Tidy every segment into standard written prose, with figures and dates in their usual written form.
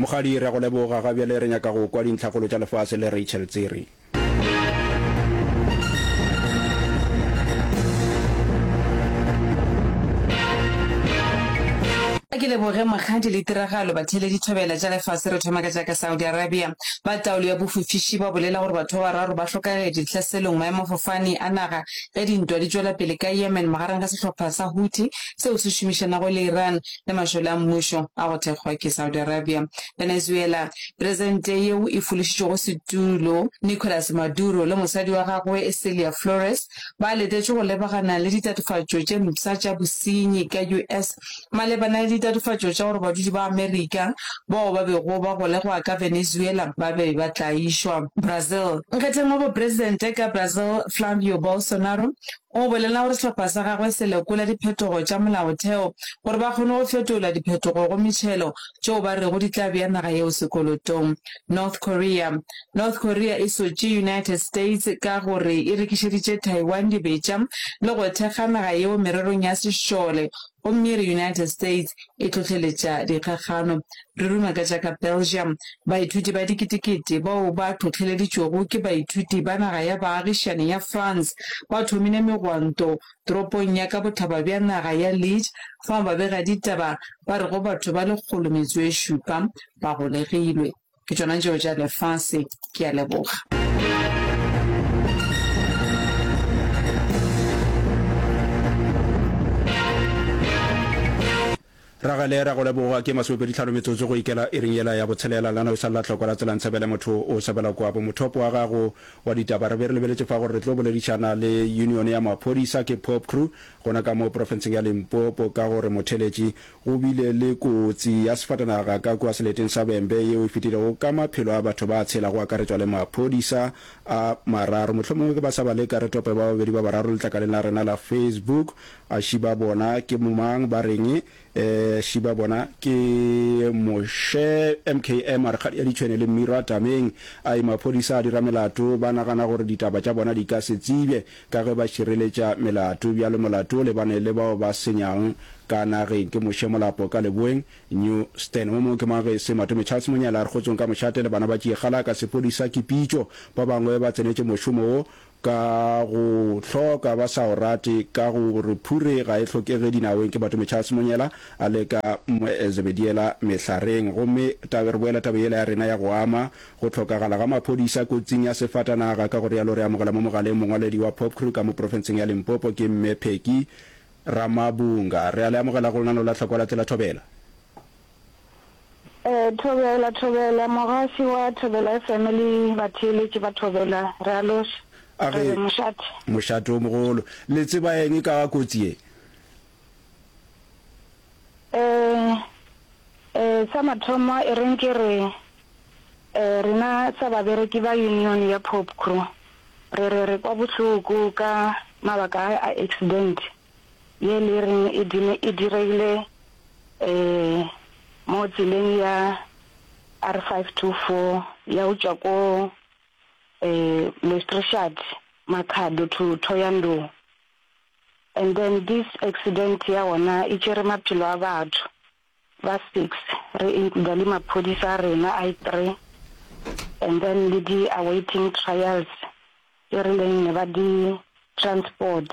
Mokgadi, re a go leboga. Ga bjale re nyaka go kwa dintlhakgolo tša lefase le Rachel Tsiri. A ke leboge Mokgadi le tiragalo batheeletši thobela tša lefase re thoma ka tša ka Saudi Arabia. Ba taolo ya bofofiši ba bolela gore batho ba bararo ba hlokagetše dihlaselong maemafofane a naga ge dintwa di tšwela pele ka Yemen magareng ga sehlopha sa Houthi seo se šomišanago le Iran le mašole a mmušo a go thekgwa ke Saudi Arabia. Venezuela, Presente yeo e fološitšego setulo Nicolas Maduro le mosadi wa gagwe Celia Flores ba letetšwe go lebagana le ditatofatšo tše mpsha tša bosenyi ka US malebana le ditatofatšo tša gore badudi ba Amerika bao ba bego ba golegwa ka Venezuela ba be ba tlaišwa. Brazil, Nkgetheng wa bopresidente ka Brazil Flavio Bolsonaro O bolela gore sehlopha sa gagwe se lekola diphetogo tša molaotheo gore ba kgone go fetola diphetogo go metšhelo tšeo ba rego di tla bea naga yeo sekolotong. North Korea North Korea e sotše United States ka gore e rekišeditše Taiwan dibetša le go thekga naga yeo mererong ya sešole gomme e re United States e hlohleletša dikgakgano. Re ruma ka tša ka Belgium. Baithuti ba diketekete bao ba hlohleleditšwego ke baithuti ba naga ya baagišani ya France ba thomile megwanto toropong ya ka bohlaba bja naga ya Liege fao babegaditaba ba rego batho ba lekgolometsoešupa ba golegilwe. Ke tšona tšeo tša lefase. Ke a leboga. Ragele, ra go leboga. Ke masomepeditlhano metsotso go ikela iring yela ya botshelela. Lana o sa lla hloko la tsela ntshebele motho o sebela kwabo. Mothopo wa gago wa ditaba re be re lebeletše fa gore re tlo boledišana le union ya maphodisa ke Popcru gona ka mo profenseng ya Limpopo ka gore motheletši Go bile le kotsi ya sefatanaga ka kua seleteng sa Vhembe yeo e fetilego ka maphelo a batho ba tshela go akaretšwa le maphodisa a mararo. Mohlomongwe ke ba sa ba leka re tope ba babedi ba bararo letlakaleng la rena la Facebook. A ši ba bona ke mang ba reng? Eh, ši ba bona ke Moshe MKM a re kgadi ya ditšhwene le mmiro a tameng. Ai maphodisa a dira melato ba nagana gore ditaba tša bona di ka se tsebje ka ge ba šireletša melato. Bjalo molato o lebane le bao ba senyang ka nageng. Ke Moshe Molapo ka Leboeng, New Stan. Mo mongwe ke mang ge e se Matome Charles Monyela a re kgotsong ka mošate le bana ba Tšiekgala ka sepodisa ke pitšo. Ba bangwe ba tsenetše mošomo wo ka go hloka ba sa o rate ka go re phure ga e hlokege dinaweng. Ke Matome Charles Monyela a le ka Zebediela Mehlareng. Gomme re boela taba yela ya rena ya go ama Go hlokagala ga maphodisa kotsing ya sefatanaga, ka go realo re amogela mo mogaleng mongwaledi wa Popcru ka mo profenseng ya Limpopo ke Mme Peggy Ramabunga. Re a le amogela go lenaneo la Tlhokwa la Tsela Thobela. Thobela, Thobela, mogaši wa Thobela FM le batheeletši ba Thobela, re a loša. A Re ge, re mošate. Mošate o mogolo. Le tseba eng ka ga kotsi ye? Eh, eh, sa mathomo e reng ke re Rena sa babereki ba union ya Popcru re re re kwa bohloko ka mabaka a a accident ye le reng e e diregile mo tseleng ya R524 ya go tšwa ko Lestrishad Makhado to Thohoyandou and then this accident ya gona e tšere maphelo a batho. Ba six re includa le maphodisa a rena a three and then le di awaiting trials tše re leng ne ba di transport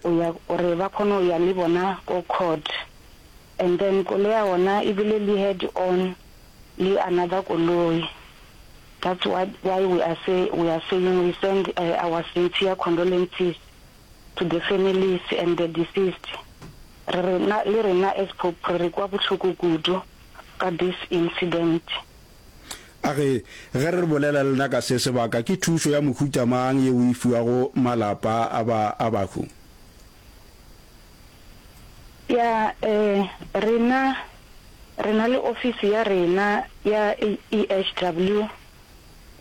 o ya gore ba kgone go ya le bona ko court and then koloi ya gona e bile le head on le another koloi that's what why we are say we are saying we send our sincere condolences to the families and the deceased. Re rena, le rena as Pope re kwa bohloko kudu ka this incident. A re, Ge re bolela le lena ka se sebaka, ke thušo ya mohuta mang yeo e fiwago malapa a ba a bahu? Ya, eh, rena, re na le ofisi ya rena ya EHW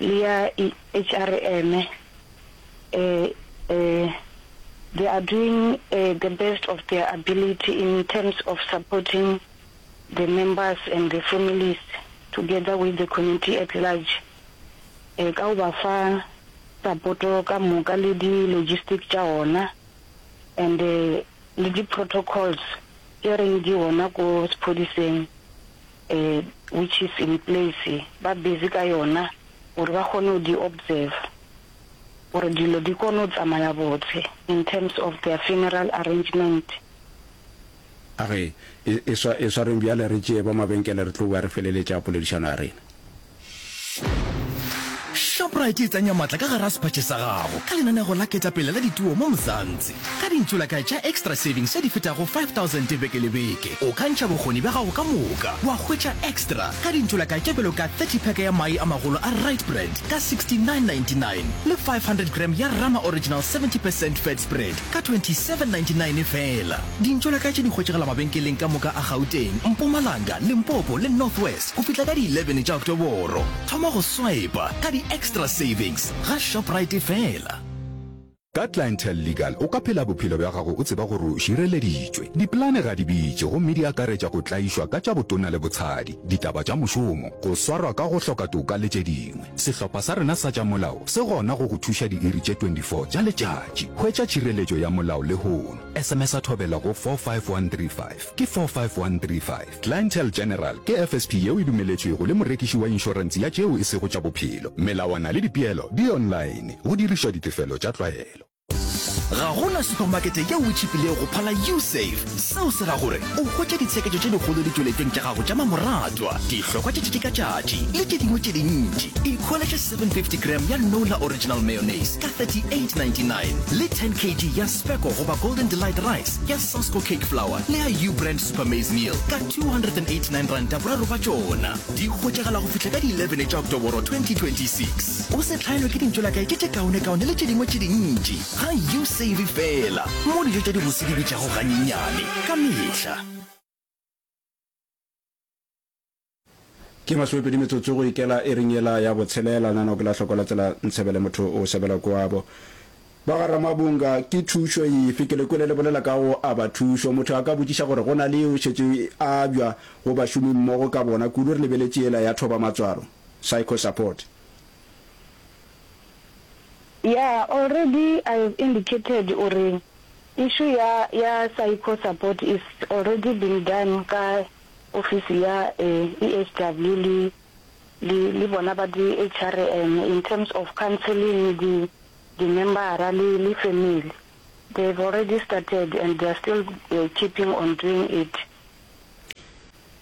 le ya HRM. Eh, eh, they are doing eh, the best of their ability in terms of supporting the members and the families together with the community at large eh, ka go ba fa sapoto ka moka le di-logistic tša ona and eh, le di-protocols tše reng di gona ko sephodiseng. Which is in place, ba busy ka yona gore ba kgone go di observe gore dilo di kgone go tsamaya botse in terms of their funeral arrangement. A re e, e, swa, e swareng bjale re tšee ba mabenkele re tlo boa re feleletša poledišano ya rena. Shoprite e tsenya matla ka gare ga sephatše sa gago ka lenanego la ketapele la dituo mo Mzansi. Ka dintšolakae tša Xtra Savings tše di fetago 5000 beke le beke, o ka ntšha bokgoni bja gago ka moka wa hwetša Xtra ka dintšolakae tše bjalo ka 30 pack ya mae a magolo a Rite Brand ka 69.99 le 500 gram ya Rama Original 70 percent fat spread ka 27.99 feela. Dintšolakae tše di hwetšagala mabenkeleng ka moka a Gauteng, Mpumalanga, Limpopo le North West go fihla ka di 11 tša Oktoboro. Thoma go swipa ka di Xtra Savings ga Shoprite feela. Ka Clientele Legal o ka phela bophelo bja gago o tseba gore o šireleditšwe. Dipolane ga di bitše gomme di akaretša go tlaišwa ka tša botona le botshadi, ditaba tša mošomo, go swarwa ka go hloka toka le tše dingwe. Sehlopha sa rena sa tša molao se gona go go thuša diiri tše 24 tša letšatši. Hwetša tšhireletšo ya molao lehono. SMS-a Thobela go 45135. Ke 45135. Clientele General ke FSP yeo e dumeletšwego le morekiši wa inšorense ya tšeo e sego tša bophelo. Melawana le dipeelo di online, go dirišwa ditefelo tša tlwaelo. Ga go na supamakete yeo e tšhipilego go phala Usave. Seo se ra gore o hwetša ditsheketšo tše dikgolo ditšweletšong tša gago tša mamoratwa, dihlokwa tša tšatši ka tšatši le tše dingwe tše dintši. Ikhweletše 750 gram ya Nola Original Mayonnaise ka 38.99 le 10 kg ya Specco goba Golden Delight Rice ya Sasko Cake Flour le ya U-Brand Super Maize Meal ka R289 boraro ba tšona. Di hwetšagala go fihla ka di 11 tša Oktoboro 2026. O se hlaelwe ke dintšolakae tše tše kaonekaone le tše dingwe tše dintši ga U-Save feela, mo dijo tša dibose di bitšago ganyenyane ka mehla. Ke masomepedi metsotso go ikela iring yela ya botshelela. Nano ke la hloko la tsela Ntshebele motho o sebela kwabo. Ba ga Ramabunga ke thušo efe? Ke le kwele le bolela ka go aba thušo. Motho a ka botšiša gore go na le yeo šetše e abjwa go bašomi mmogo ka bona, kudu re lebeletše yela ya thoba matswalo, psycho support. Yeah, already I have indicated uri issue ya ya psycho support is already been done ka Ofisi ya EHW le, le, le bona ba di HRM in terms of counselling di, di membara le, le family. They have already started and they are still keeping on doing it.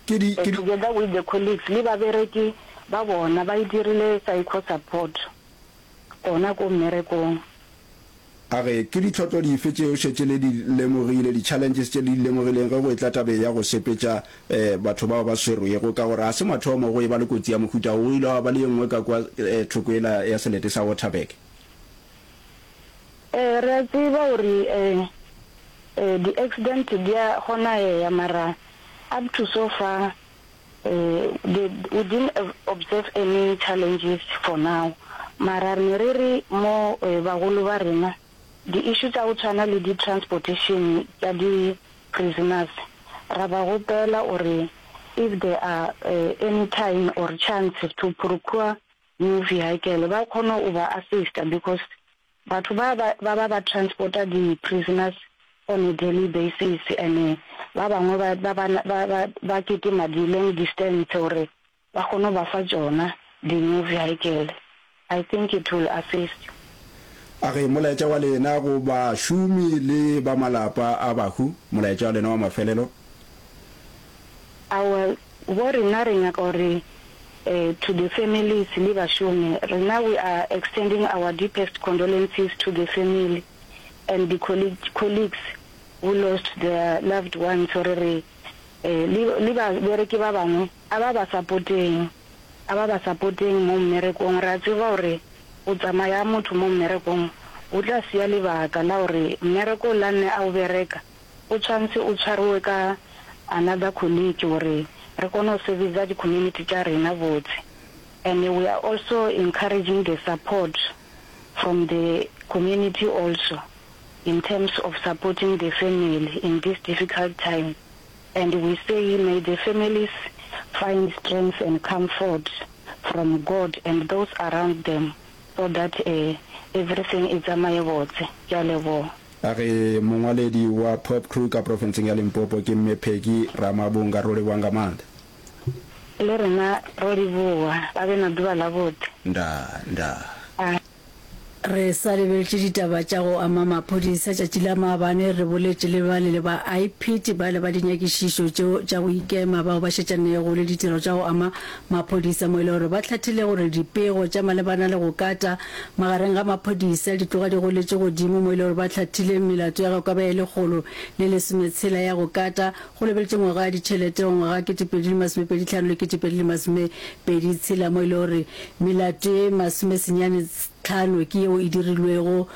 Ke di, ke di. Together with the colleagues le babereki ba bona ba e dirile psycho support gona ko mmerekong. A re, Ke ditlhotlo dife tšeo šetše le di lemogile, di-challenges tše le di lemogileng ge go etla tabeng ya go sepetša batho bao ba swerwego? Ka gore ga se mathomo go eba le kotsi ya mohuta wo, go ile gwa ba le ye nngwe ka kua thoko yela ya selete sa Waterberg. Ee, re a tseba gore di-accident di a kgonaea mara up to so far the, we didn't observe any challenges for now mara re ne re re mo bagolo ba rena di issue tsa go tshwana le di transportation tša di prisoners ra ba gopela gore if there are any time or chance to procure new vehicle ba kgone go ba assista because Batho ba ba ba ba transporta di prisoners on a daily basis and ba bangwe ba ba ba ba ba kitima di long distance gore ba kgone go ba fa tšona di new vehicle. I think it will assist. A re, Molaetša wa lena go bašomi le ba malapa a bahu, molaetša wa lena wa mafelelo? Aowa, bo rena re nyaka gore to the families le bašomi, rena we are extending our deepest condolences to the family and the colleagues who lost their loved ones gore re le le babereki ba bangwe a ba ba supporteng, a ba ba supporteng mo mmerekong, re a tseba gore go tsamaya motho mo mmerekong go tla siya lebaka la gore mmereko o la nne a o bereka O tshwantse o tshwariwe ka another colleague gore re kgone go servicer di community tša rena botse and we are also encouraging the support from the community also in terms of supporting the family in this difficult time and we say may the families find strength and comfort from God and those around them so that everything e tsamaye botse. Ke a leboga. A re mongwaledi wa Pop Crew ka profenseng ya Limpopo ke Mme Peggy Ramabunga. Ro leboga nga maanḓa. Le rena ro leboga. Ba be na ḓuvha ḽavhuḓi. Ndaa, ndaa. A. Re sa lebeletše ditaba tša go ama maphodisa, tšatši la maabane re boletše le bale le ba IPID bale ba dinyakišišo tšeo tša go ikema bao ba šetšanego le ditiro tša go ama maphodisa mo e le gore ba hlathile gore dipego tša malebana le go kata magareng ga maphodisa di tloga di goletše godimo mo e le gore ba hlathile melato ya go ka ba ye 116 ya go kata go lebeletše ngwaga wa ditšhelete wa ngwaga 2025 le 2026 mo e le gore melato ye 95 ke yeo e dirilwego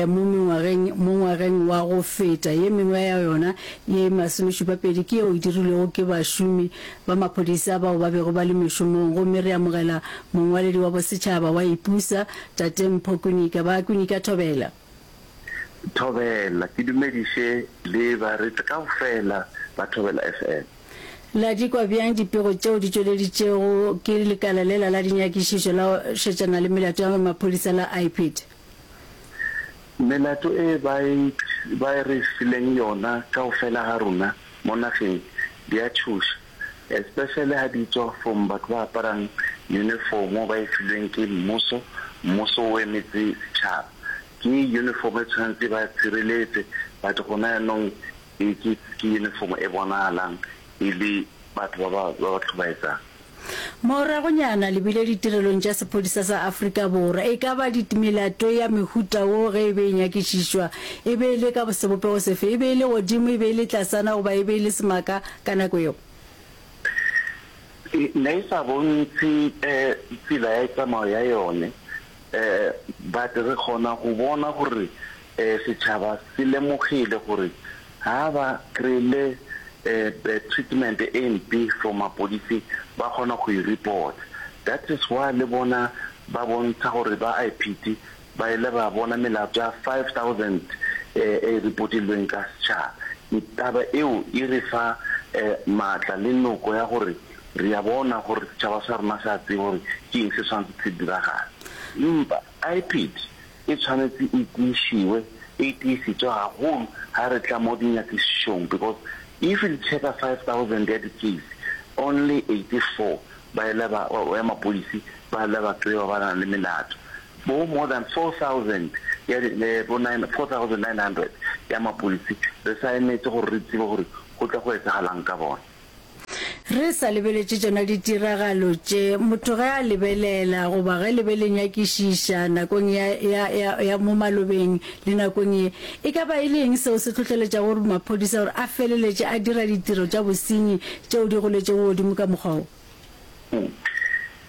mo mengwageng mo ngwageng wa go feta. Ye mengwe ya yona ye 72 ke yeo e dirilwego ke bašomi ba maphodisa bao ba bego ba le mešomong. Gomme re amogela mongwaledi wa bosetšhaba wa IPUSA, Tate Mpho Kwinika. Ba Kwinika Thobela. Thobela, ke dumediše le bareetsi kaofela ba Thobela FM. La di kwa bjang dipego tšeo di tšweleditšego ke lekala lela la dinyakišišo la go šetšana le melato ya maphodisa la IPID? Melato e ba e ba e re fileng yona kaofela ga rona mo nageng di a tšhoša, especially ha di tswa from batho ba aparang uniform ba e filweng ke mmuso, mmuso o emetse setšhaba. Ke uniform e tshwanetse ba tshireletse but gona yanong e ke ke uniform e bonagalang e le batho ba ba ba ba tlhobaetsang. Moragonyana le bile ditirelong tša sephodisa sa Afrika Borwa. E ka ba dit melato ya mehuta wo ge e be e nyakišišwa e be e le ka sebopego sefe? E be e le godimo, e be e le tlasana goba e be e le semaka ka nako yeo? E ne e sa bontshe tsela ya tsamao ya yone But re kgona go bona gore setšhaba se lemogile gore ha ba kry-ile treatment e mpe from mapodisi ba kgona go e report. That is why le bona ba bontsha gore ba IPID ba ile ba bona melato ya 5000 e reportilweng ka setšhaba. Taba eo e re fa maatla le noko ya gore Re a bona gore setšhaba sa rena se a tseba gore ke eng se swanetše se diragale. Empa IPID e tshwanetse e tiišiwe, e tiisetswe gagolo ga re tla mo dinyakišišong because if le checka 5000 ya di-case, only 84 ba ile ba, ya mapodisi ba ile ba kry-wa ba na le melato. Bo more than 4000 ya di, bo 4900 ya mapodisi re sa emetse gore re tsebe gore go tla go etsagalang ka bona. Re sa lebeletše tšona ditiragalo tše, motho ge a lebelela goba ge le be le nyakišiša nakong ya, ya, ya, ya mo malobeng le nakong ye, e ka ba e le eng seo se hlohleletšago gore maphodisa gore a feleletše a dira ditiro tša bosenyi tšeo di goletšego godimo ka mokgwa wo?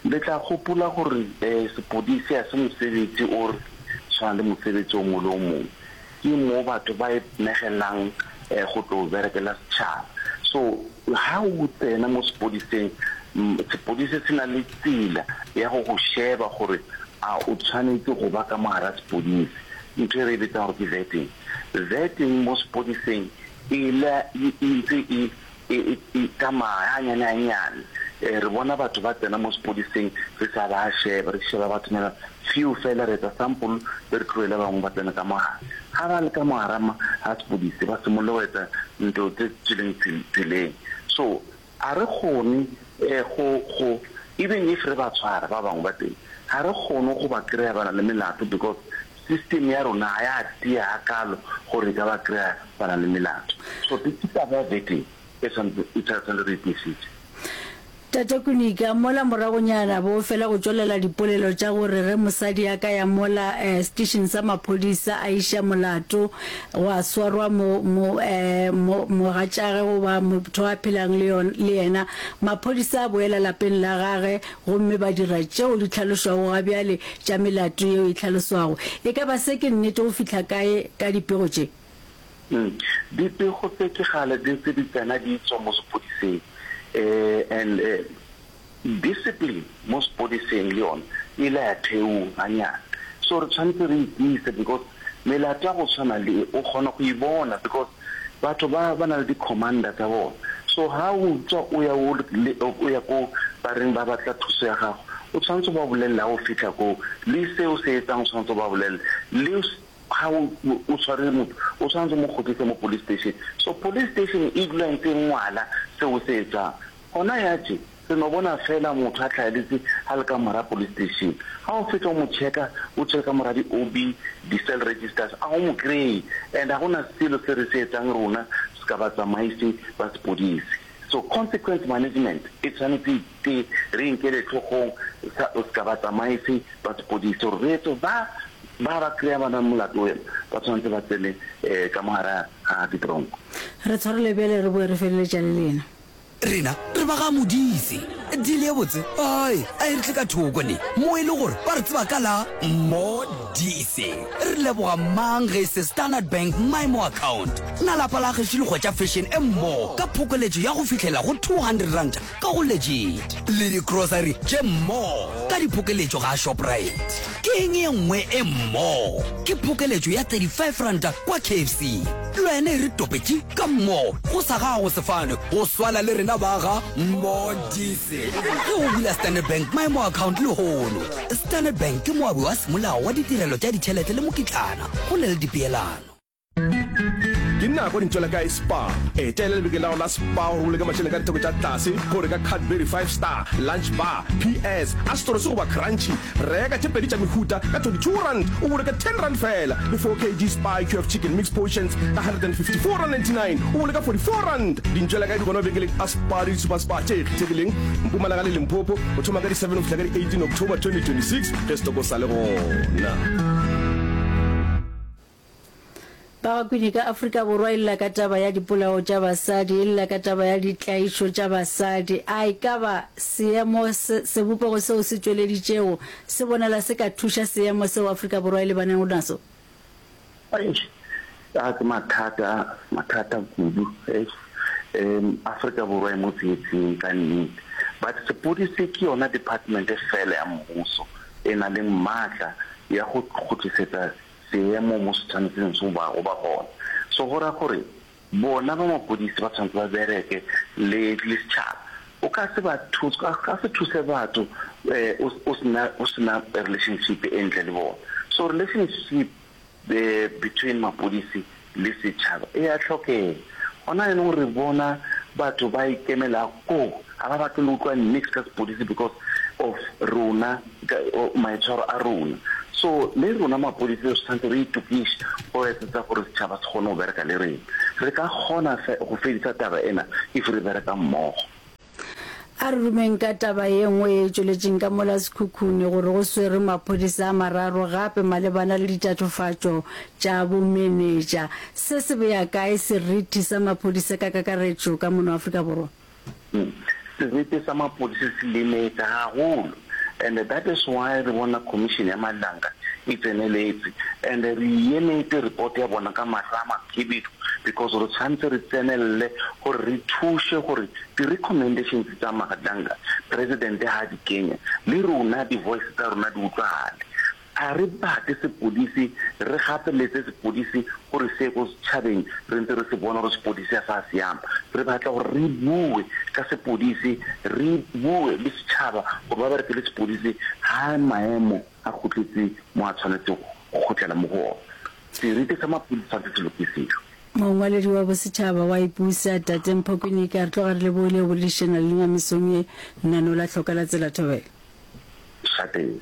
Le tla gopola gore sepodisi ga se mosebetsi o re tshwana le mosebetsi o mongwe le o mongwe. Ke mo batho ba inegelang go tlo berekela setšhaba. So ha o tsena mo sepodiseng, sepodisi se na le tsela ya go go sheba gore a o tshwanetse go ba ka mo hara sepodisi. Ntho e re e bitsang gore ke vetting. Vetting mo sepodiseng e la e ntse e E, e tsamaya ganyane ganyane. E, re bona batho ba tsena mo sepodiseng re sa ba sheba, re sheba bathonyana few fela, re etsa sample be re tlohele ba bangwe ba tsene ka mo gare. Ga ba le ka mo gare ga sepodisi ba simolole go etsa ntho tse tswileng tseleng. So ga re kgone go, go, even if re ba tshwara ba bangwe ba teng, ga re kgone go ba kry-a ba na le melato because system ya rona ga ya tia gakalo gore e ka ba kry-a ba na le melato. So ke taba ya vetting e tshwanetse e tshwanetse re e tiisitse. Tate Kunika, mola moragonyana bo fela go tšwelela dipolelo tša gore ge mosadi a ka ya mola station sa maphodisa a iša molato gwa swarwa mo, mo, mo, mogatšage goba motho a phelang le yon, le yena, maphodisa a boela lapeng la gage gomme ba dira tšeo di hlalošwago ga bjale tša melato yeo e hlaloswago. E ka ba se ke nnete go fihla kae ka dipego tše? Dipego tse ke kgale di ntse di tsena di tswa mo sepodiseng and discipline mo sepodiseng le yona e ile ya theoga ganyane. So re tshwanetse re itiise because melato ya go tshwana le e o kgona go e bona because batho ba ba na le di-commander tsa bona. So ha o tswa o ya o ya ko ba reng ba batla thuso ya gago, o tshwanetse o ba bolelele ha o fitlha koo, le se o se etsang o tshwanetse o ba bolelele, le ga o o tshware motho o tshwanetse o mo kgotlise mo police station. So police station e dula e ntse e ngwala se o se etsang. Gona ya tše. Re no bona feela motho a hlaeletse a le ka mora police station. Ga o fetša o mo checka, o check ka mora di-O_B, di-cell registers, a o mo kry-e. And ga go na selo se re se etsang rona se ka batsamaisi ba sepodisi. So consequence management e tshwanetse e te re e nkele hlogong sa se ka batsamaisi ba sepodisi gore re etse ba ba ba kry-a ba na le molato wena ba tshwanetse ba tsene ka mo gare ga ditronko. Re tshwarele bjale re boe re feleletša le lena. Rena re ba ga Modise. Deal ye botse ai a e re tle ka thoko ne mo e le gore ba re tseba ka la Modise. Re leboga mang ge e se Standard Bank MyMo Account. Na lapa la gešo le hwetša fashion e mmo ka phokoletšo ya go fihlela go R200 ka go Legit le di grocery tše mmo ka diphokeletšo ga Shoprite. Ke eng ye nngwe e mmo? Ke phokeletšo ya R35 kwa KFC. Le wena e re topetše ka mmo go sa gago sefane go swana le rena ba ga Modise. Ge o bula Standard Bank Maemo Account lehono, Standard Bank ke moabi wa semolao wa ditirelo tša ditšhelete le mokitlana go na le dipeelano. Ke nako di ntšwela kae Spar? Etela lebenkele la gago la Spar gore o boloke mašeleng ka ditheko tša tlase go reka Cadbury Five Star, Lunch Bar, PS, Astros goba Crunchy. Reka tše pedi tša mehuta ka R22 o boloke R10 feela le 4 kg Spar IQF Chicken Mix Portions ka R154.99 o boloka R44. Dintšwela kae di gona mabenkeleng a Spar le di-Super Spar tše kgethegileng Mpumalanga le Limpopo go thoma ka di 7 go fihla ka di 18 October 2026 ge setoko sa le gona. Bagakwini ka Afrika Borwa e lla ka taba ya dipolao tša basadi, e lla ka taba ya ditlaišo tša basadi. A e ka ba seemo se, sebopego seo se tšweleditšego se bonala se ka thuša seemo seo Afrika Borwa e lebanego naso? Eish, a ke mathata, mathata kudu. Eish, um Afrika Borwa e mo tsietsing ka nnete. But sepodisi ke yona department fela ya mmuso e na leng maatla ya go kgutlisetsa seemo mo se tshwanetseng se ba go ba gona. So go ra gore bona ba mapodisi ba tshwanetse ba bereke le le setšhaba. O ka se ba thuse, o ka se thuse batho o o sena o sena relationship e ntle le bona. So relationship between mapodisi le setšhaba e a hlokega. Gona jaanong re bona batho ba ikemela koo, ga ba batle le utlwa niks ka sepodisi because of rona, maitshwaro a rona. So le rona mapodisi re tshwanetse re itokiše go etsetsa gore setšhaba se kgone go bereka le rena. Re ka kgona go fedisa taba ena if re bereka mmogo. A re rumeng ka taba ye nngwe ye e tšweletšeng ka mola Sekhukhune gore go swerwe maphodisa a mararo gape malebana le ditatofatšo tša bomenetša. Se se bea kae seriti sa maphodisa ka kakaretšo ka mono Afrika Borwa? Seriti sa maphodisa se lemetse gagolo and that is why re bona commission ya Madlanga e tseneletse and re emetse report ya bona ka mahlo a makhibidu because re tshwanetse re tsenelele gore re thuše gore Di-recommendations tsa Madlanga, President ha a di kenya, le rona di-voice tsa rona di utlwagale. A re batle sepodisi, re gapeletse sepodisi gore se ye ko setšhabeng re ntse re se bona gore sepodisi ga sa siama. Re batla gore re bue ka sepodisi, re bue le setšhaba gore ba bereke le sepodisi ha maemo a kgutletse mo a tshwanetseng go kgutlela mo go ona. Seriti sa mapodisi tshwanetse se lokisiwe. Mongwaledi wa bosetšhaba wa Ipusa, Tate Mpho Kwinika, re tloga re lebogile go boledišana le lena mesong ye, lenaneo la Hloka la Tsela Thobela. Šateng.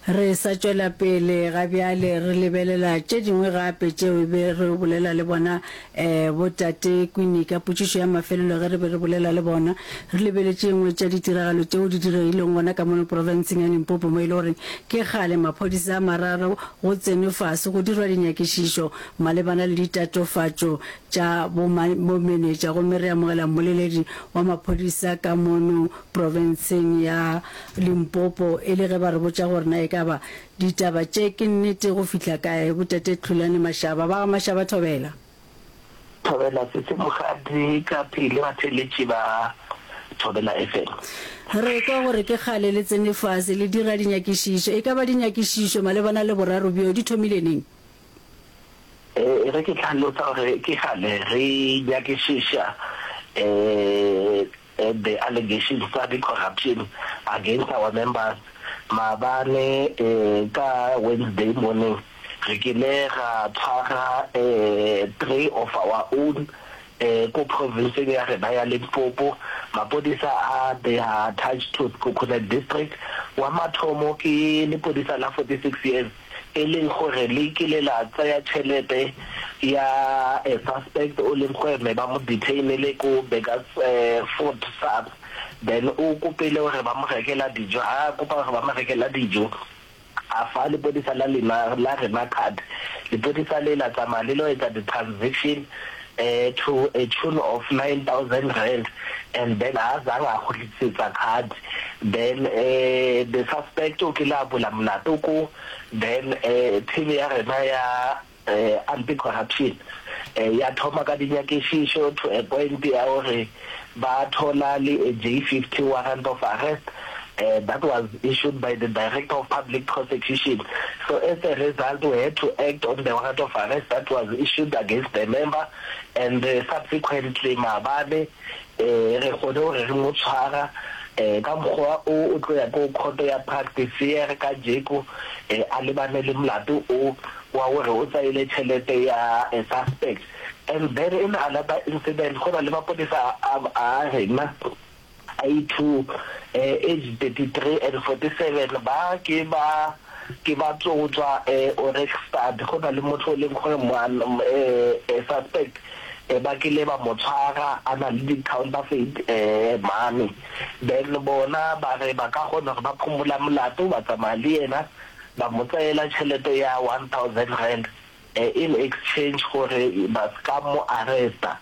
Re sa tšwela pele ga bjale re lebelela tše dingwe gape tšeo e be re bolela le bona um bo Tate Kwinika. Potšišo ya mafelelo ge re be re bolela le bona re lebeletše e nngwe tša ditiragalo tšeo di diregileng gona ka mono profenseng ya Limpopo mo e le gore ke kgale maphodisa a mararo go tsenwe fase go dirwa dinyakišišo malebana le ditatofatšo tša bomenetša gomme re amogela mmoleledi wa maphodisa ka mono profenseng ya Limpopo e le ge ba re botša gore na e ka ba ditaba tše ke nnete go fihla kae. Botate Tlhulane Mashaba ba ga Mashaba Thobela. Thobela Sese Mokgadi ka pele batheeletši ba Thobela FM. Re kwa gore ke kgale le tsene fase le dira dinyakišišo. E ka ba dinyakišišo malebana le boraro bjo di thomile neng? E re ke hlalosa gore ke kgale re nyakišiša the allegations tsa di corruption against our members. Maabane ka Wednesday morning re kile ra tshwara three of our own. Ko provinseng ya rena ya Limpopo, mapodisa a they are attached to Sekhukhune district. Wa mathomo ke lepodisa la 46 years e leng gore le kile la tseya tšhelete ya a suspect o leng gore ne ba mo detainile ko Burgersfort SAPS then o kopile gore ba mo rekela dijo, ha a kopa gore ba mo rekela dijo A fa lepodisa la lena la rena card. Lepodisa le la tsamaya le lo etsa di transaction to a tune of 9000 rand and then ha zang a kgutlisetsa card then the suspect o kile a bula molato ko then team ya rena ya Anti-corruption ya thoma ka dinyakišišo to a point ya gore ba thola le a J50 warrant of arrest that was issued by the Director of Public Prosecution. So as a result we had to act on the warrant of arrest that was issued against the member and subsequently maabane Re kgone gore re mo tshwara ka mokgwa o o tlo ya ko khoto ya Praktiseer kajeko a lebane le molato o wa gore o tsaile tšhelete ya a suspect. And then in another incident go na le mapodisa a rena a i-two age 33 and 47 ba ke ba ke ba tlo tswa Ohrigstad, go na le motho o leng gore suspect ba kile ba mo tshwara a na le di-counterfeit money, then bona ba re ba ka kgona gore ba phomola molato ba tsamaya le yena ba mo tseela tšhelete ya 1000 rand in exchange gore ba ska mo arresta,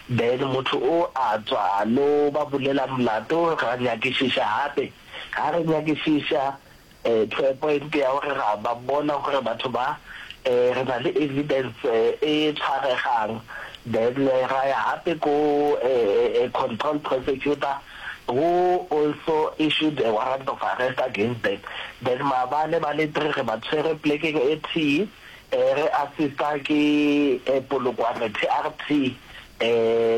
then motho o a tswa a lo ba bulela molato ra nyakišiša gape, ga re nyakišiša To a point ya gore ra ba bona gore batho ba re na le evidence e tshwaregang then ra ya gape ko control prosecutor who also issued a warrant of arrest against them. Then maabane ba le three re ba tshwere plekeng e tee re assista ke Polokwane TRT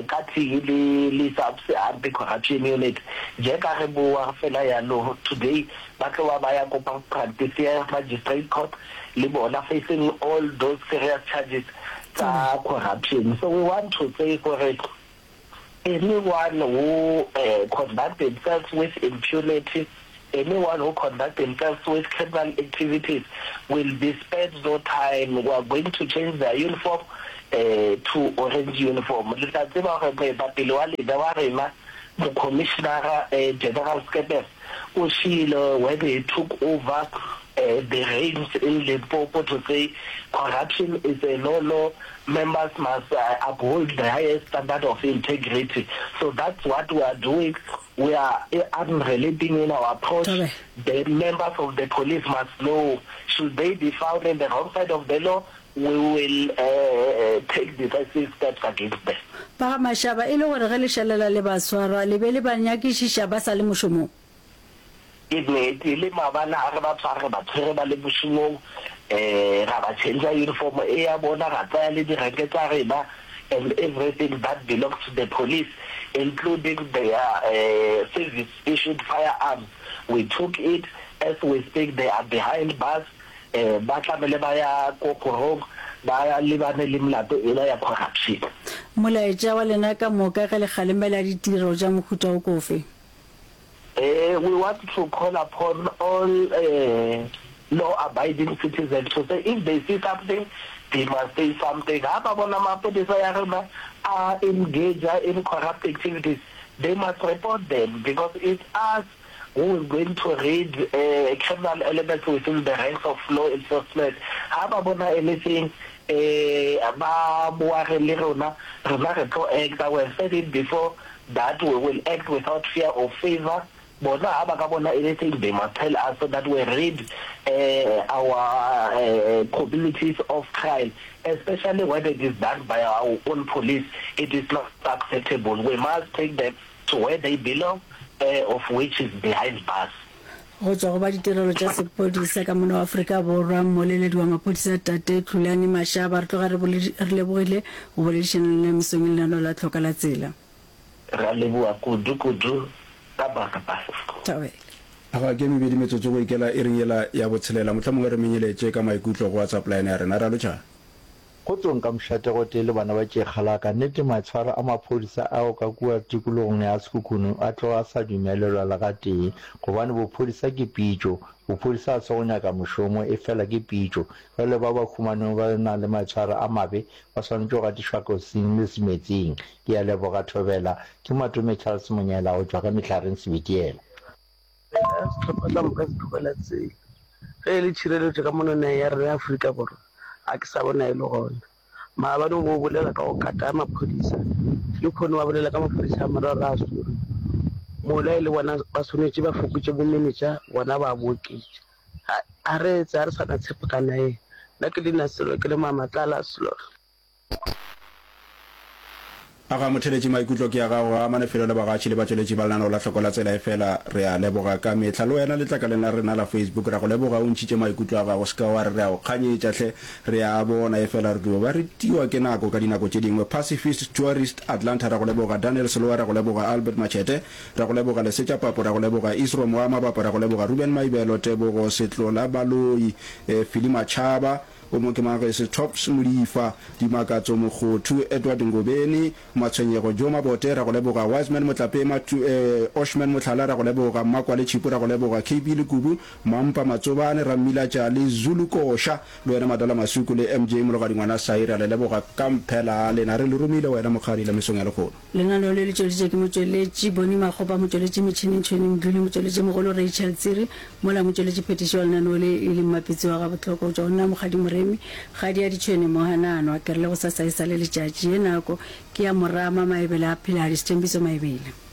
ka tee le le SAPS Anti-Corruption Unit. Jaaka re boa fela yalo today ba tlo ba ba ya ko Practice Magistrate Court le bona facing all those serious charges tsa corruption. So we want to say gore Anyone who conduct themselves with impunity, anyone who conduct themselves with criminal activities will be spared no time. We are going to change their uniform to orange uniform. Le tla tseba gore moetapele wa lena wa rena, Mokhomišenara General Skeppers, o šiile when he took over the reins in Limpopo to say corruption is a no-no, members must uphold the highest standard of integrity. So that's what we are doing. We are unrelenting in our approach. The members of the police must know, should they be found in the wrong side of the law, we will take decisive steps against them. Ba ga Mashaba, e le gore ge le šalela le ba swara, le be le ba nyakišiša ba sa le mošomong? Ke nnete, le maabane ga re ba tshwara re ba tshwere ba le mošomong, ra ba change-a uniform e ya bona, ra tsaya le direnke tsa rena and everything that belongs to the police including their service issued firearms, we took it, as we speak they are behind bars. Ba tlamele ba ya ko kgorong ba lebane le molato ela ya corruption. Molaetša wa lena ka moka ge le kgalemela ditiro tša mohuta wo ke ofe? We want to call upon all law abiding citizens to say if they see something they must say something. Ha ba bona mapodisa ya rena a engage-a in corrupt activities they must report them because it's us who is going to rid criminal elements within the ranks of law enforcement. Ha ba bona anything ba boage le rona, rena re tlo acta. We have said it before that we will act without fear or favour. Bona ha ba ka bona anything they must tell us so that we rid our communities of crime, especially when it is done by our own police. It is not acceptable. We must take them to where they belong, of which is behind bars. Go tšwa go ba ditirelo tša sepodisa ka mono Afrika Borwa, mmoleledi wa maphodisa Tate Tlulani Mashaba, re tloga re re lebogile go boledišana le nna mesong e lenaneo la Tlhoka la Tsela. Re a leboga kudu kudu ka baka ba. Thobela. Aga ke mebedi metsotso go ikela iring yela ya botshelela. Mohlomongwe re menyeletše ka maikutlo go WhatsApp line ya rena. Ra lotšha. Kgotsong ka mošate gotee le bana ba Tšekgalaka, nnete maitshwaro a maphodisa ao ka kua tikologong ya Sekhukhune a tloga a sa dumelelwa le gatee, gobane bophodisa ke pitšo, bophodisa ga se go nyaka mošomo, efela ke pitšo. Bjale ba ba humanwego ba na le maitshwaro a mabe ba swanetše go gatišwa kosing le semetsing. Ke a leboga Thobela. Ke Matome Charles Monyela go tšwa ka Mehlareng Sebitiela. Rena sehlopha ka moka se tlogela tsela. Ge e le tšhireletšo ka mono nageng ya rena ya Afrika Borwa, ga ke sa bona e le gona. Maabane o be o bolela ka go kata maphodisa, lehono ba bolela ka maphodisa a mararo a swerwe. Mola e le bona ba swanetše ba fokotše bomenetša, bona ba bo oketša. Ga re etse, ga re sa na tshepo ka nageng. Nna ke leina Sello, ke le Mamatlala Sello. A ga motheletši maikutlo ke a gago ga amane felo le bagatši le batšweletši ba lenaneo la Hloko la Tsela efela re a leboga ka mehla le wena letlakaleng la rena la Facebook ra go leboga o ntšhitše maikutlo a gago se ka wa re re a go kganyetša hle re a a bona efela re dio ba re tiwa ke nako ka dinako tše dingwe Pacifist Tourist Atlanta ra go leboga Daniel Selowa ra go leboga Albert Machete ra go leboga Lesetša Papo ra go leboga Isrom wa Mabapa ra go leboga Ruben Maibelo Tebogo Setlola Baloi Philly Machaba O mo ke mang ge se Tops Modifa, Dimakatso Mokgothu, Edward Ngobeni, Matshwenyego Joe Mabote, ra go leboga, Wiseman Motlape, Matu, eh, Oshman Mohlala, ra go leboga, Mmakwale Tšhipu, ra go leboga, KB Lekubu, Mampa Matsobane, Rammila Tšale, Zulu Koša, le wena Madala Masuku le MJ Mologadi Ngwana Sai, ra le leboga ka mphela lena. Re le romile wena Mokgadi la mesong ya lekgono. Lenaneo le le tšweleditšwe ke motšweletši Bonnie Makgopa, motšweletši metšhineng Tšhweni Mdluli, motšweletšimogolo Rachel Tsiri, mola motšweletši phetiši wa lenaneo le e leng Mapitsi wa Gabohlokwa go tšwa go nna Mokgadi Moremi, Kgadi ya Ditšhwene Mohananwa. Ke re le gosasa e sa le letšatši, ye nako ke ya Morama Maebele a Pheladi, Sethembiso Maebele.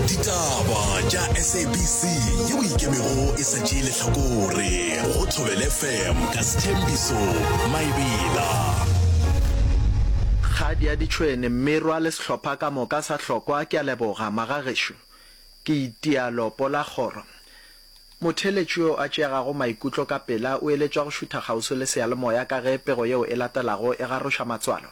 Ditaba tša SABC yeo e ikemego e sa tšee lehlakore go Thobela FM ka Sthembiso Maebela. Kgadi ya ditšhwene, Mmerwa le sehlopha ka moka sa hlokwa ke a leboga, magagešo. Ke itia lopo la kgoro. Motheeletši yo a tšeegago maikutlo ka pela o eletšwa go šutha kgauswi le seyalemoya ka ge pego yeo e latelago e garoša matswalo.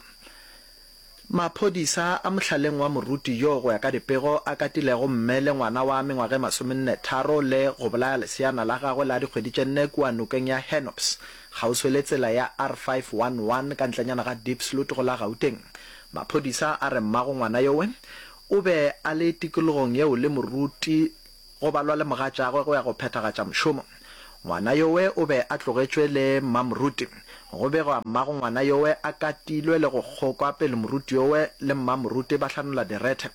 Maphodisa a mohlaleng wa moruti yo go ya ka dipego a katilego mme le ngwana wa mengwaga e masomennetharo le go bolaya leseana la gagwe la dikgwedi tše nne kua nokeng ya Hennops kgauswi le tsela ya R511 ka ntlenyana ga Diepsloot go la Gauteng. Maphodisa a re mmago ngwana yowe o be a le tikologong yeo le moruti Go balwa le mogatšagwe go ya go phethagatša mošomo. Ngwana yowe o be a tlogetšwe le mmamoruti. Go begwa mmago ngwana yowe a katilwe le go kgokwa pele moruti yowe le mmamoruti ba hlanola direthe.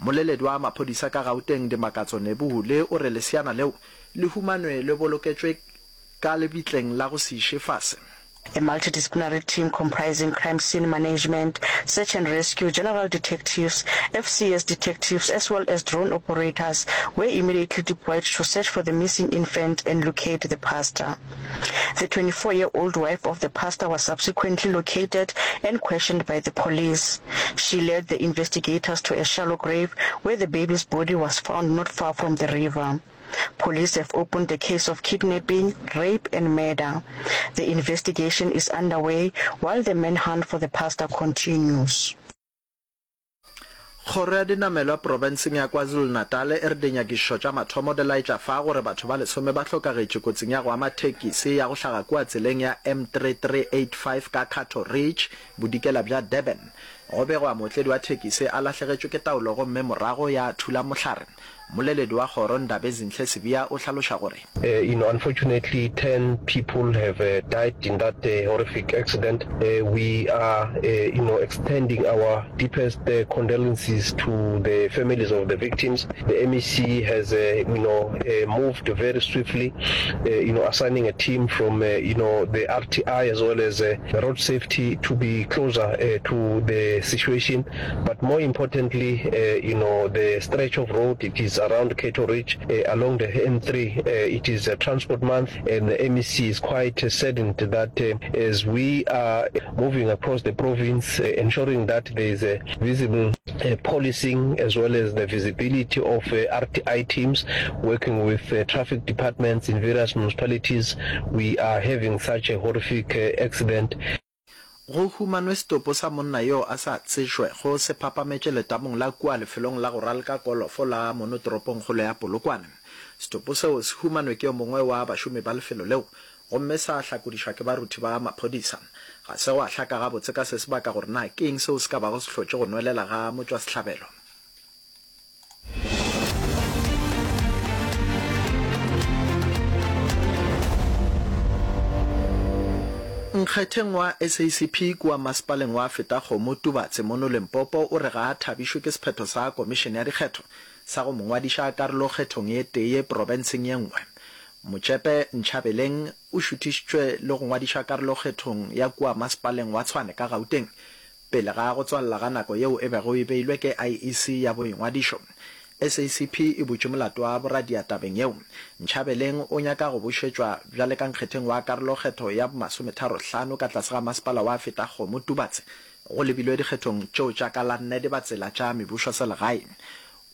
Mmoleledi wa maphodisa ka Gauteng Dimakatso Nebuhule o re leseana leo le humanwe le boloketšwe ka lebitleng la go se iše fase. A multidisciplinary team comprising crime scene management, search and rescue, general detectives, FCS detectives as well as drone operators were immediately deployed to search for the missing infant and locate the pastor. The 24-year-old wife of the pastor was subsequently located and questioned by the police. She led the investigators to a shallow grave where the baby's body was found not far from the river. Police have opened a case of kidnapping, rape and murder. The investigation is underway while the manhunt for the pastor continues. Kgoro ya dinamelwa profenseng ya KwaZulu-Natal e re dinyakišišo tša mathomo di laetša fa gore batho ba lesome ba hlokagetše kotsing ya go ama thekisi ya go hlaga kua tseleng ya M3385 ka Cato Ridge, bodikela bja Durban. Go begwa mootledi wa thekisi a lahlegetšwe ke taolo gomme morago ya thula mohlare. Mmoleledi wa kgoro Ndabezinhle Sibiya o hlaloša gore. You know, unfortunately 10 people have died in that horrific accident. We are, you know, extending our deepest condolences to the families of the victims. The MEC has, you know, moved very swiftly, you know, assigning a team from, you know, the RTI as well as road safety to be closer to the situation. But more importantly, you know, the stretch of road, it is around Cato Ridge, along the N3. It is a transport month, and the MEC is quite saddened that as we are moving across the province, ensuring that there is a visible policing as well as the visibility of RTI teams working with traffic departments in various municipalities, we are having such a horrific accident. Go humanwe setopo sa monna yo a sa tsejwego se phapametše letamong la kua lefelong la go ralka kolofo la mono toropongkgolo ya Polokwane. Setopo seo se humanwe ke yo mongwe wa bašomi ba lefelo leo gomme sa hlakodišwa ke baruthi ba maphodisa. Ga se gwa hlaka gabotse ka se sebaka gore na ke eng seo se ka bago se hlotše go nwelela ga motšwasehlabelo. Nkgetheng wa SACP kua masepaleng wa Fetakgomo, Tubatse mono Limpopo o re ga a thabišwe ke sephetho sa komišene ya dikgetho sa go mo ngwadiša karolo kgethong ye tee profenseng ye nngwe. Motšepe Nchabeleng o šuthišitšwe le go ngwadiša karolo kgethong ya kua masepaleng wa Tshwane ka Gauteng pele ga go tswalela ga nako yeo e bego e beilwe ke IEC ya boingwadišo. SACP e butše molato wa boradia tabeng yeo. Nchabeleng o nyaka go bušetšwa bjale ka nkgetheng wa karolokgetho ya bomasometharo-hlano ka tlase ga masepala wa Fetakgomo Tubatse go lebilwe dikgethong tšeo tša ka la nne dibatsela tša mebušoselegae.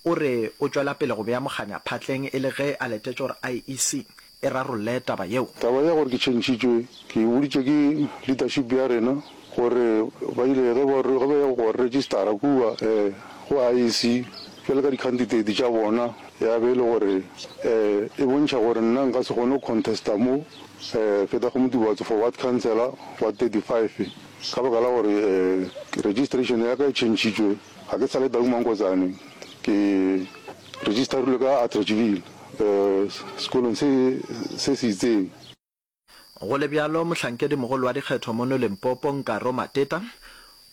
O re o tšwela pele go bea mokganya phatleng e le ge a letetše gore IEC e rarolle taba yeo. Taba ya gore ke tšhentšhitšwe ke e boditšwe ke leadership ya rena gore ba ile ge ba ge ba ya go registera kua go IEC bjalo ka di-candidate tša bona ya be e le gore e bontšha gore nna nka se kgone go contesta mo Fetakgomo Tubatse for ward councillor ward 35 ka baka la gore registration ya ka e tšhentšhitšwe. Ga ke sa le Tau Mankotsane, ke registerilwe ka Atteridgeville sekolong se se se itseng. Go le bjalo, mohlankedimogolo wa dikgetho mono Limpopo, Nkaro Mateta,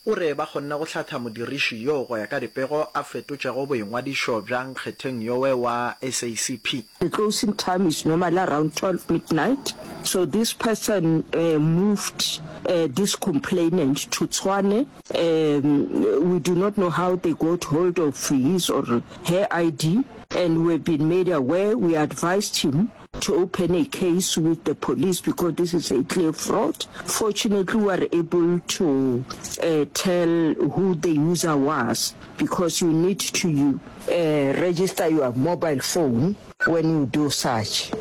o re ba kgonne go hlatha modiriši yoo go ya ka dipego a fetotšego boingwadišo bja nkgetheng yowe wa SACP. The closing time is normally around 12 midnight, so this person moved this complainant to Tshwane. Um we do not know how they got hold of his or her ID and we've been made aware, we advised him to open a case with the police because this is a clear fraud. Fortunately, we are able to uh, tell who the user was because you need to uh, register your mobile phone when you do such.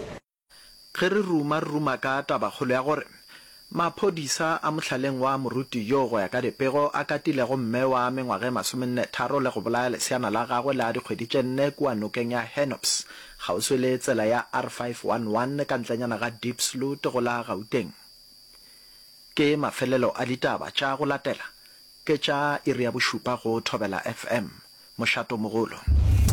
Ge re ruma, re ruma ka tabakgolo ya gore maphodisa a mohlaleng wa moruti yo go ya ka dipego a katilego mme wa mengwaga e masomennetharo le go bolaya leseana la gagwe la dikgwedi tše nne kua nokeng ya Hennops kgauswi le tsela ya R511 ka ntlenyana ga Diepsloot go la Gauteng. Ke mafelelo a ditaba tša go latela ke tša iri ya bošupa go Thobela FM, mošatomogolo.